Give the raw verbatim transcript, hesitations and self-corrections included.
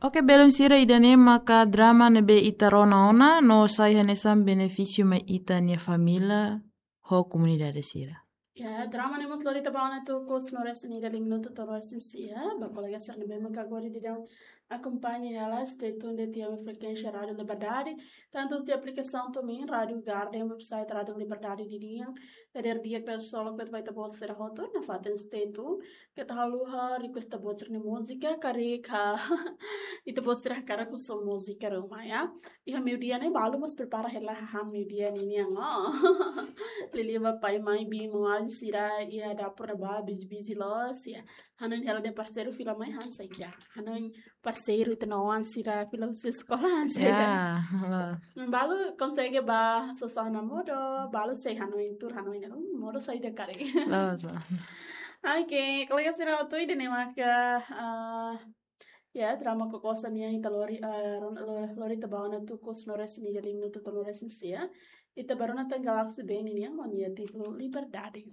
Oke, belun sira, ida-ne'e maka drama ne'ebé ita rona ona no sai hanesan benefísiu mai ita-nia família ho komunidade sira. Ya, drama ne'e mós lori ita ba ona tuku husi ne'e resin ida, liu minutu to'o resin sia. Ba kolega sira ne'ebé maka agora daudaun akompaña hela, stay tuned de'it iha frekuénsia Rádiu Liberdade, tantu husi aplikasaun TuneIn, Rádiu Garden, website Rádiu Liberdade nian. Dadeer di'ak, dadeer solok ba ita-boot sira hotu, nafatin stay tuned. Keta haluha request ita-boot sira-nia múzika, karik ita-boot sira hakarak husu múzika ruma, ya. Iha meiudia ne'e balu mós prepara hela hahán meiudia ninian, oh. Liuliu ba pai, mãe, biin, maun-alin sira iha dapur ne'ebá busy-busy loos, ya. Hanoin hela de'it parseiru fila mai han saida. Hanoin parseiru ita-nia oan sira fila husi eskola han saida. Ya, loos. Balu konsege ba sosana modo, balu sei hanoin tuur, hanoin, hmm, modo saida karik. Loos, loos. Oke, kolega sira hotu, ida-ne'e maka, ah, ya, drama Kokosa nian ita lori, ah, ron-, lo-, lori ita ba ona tuku husi ne'e resin ida, liu minutu to'o resin sia. Ita ba rona tan Galaxy Band nian ho nia títulu Liberdade.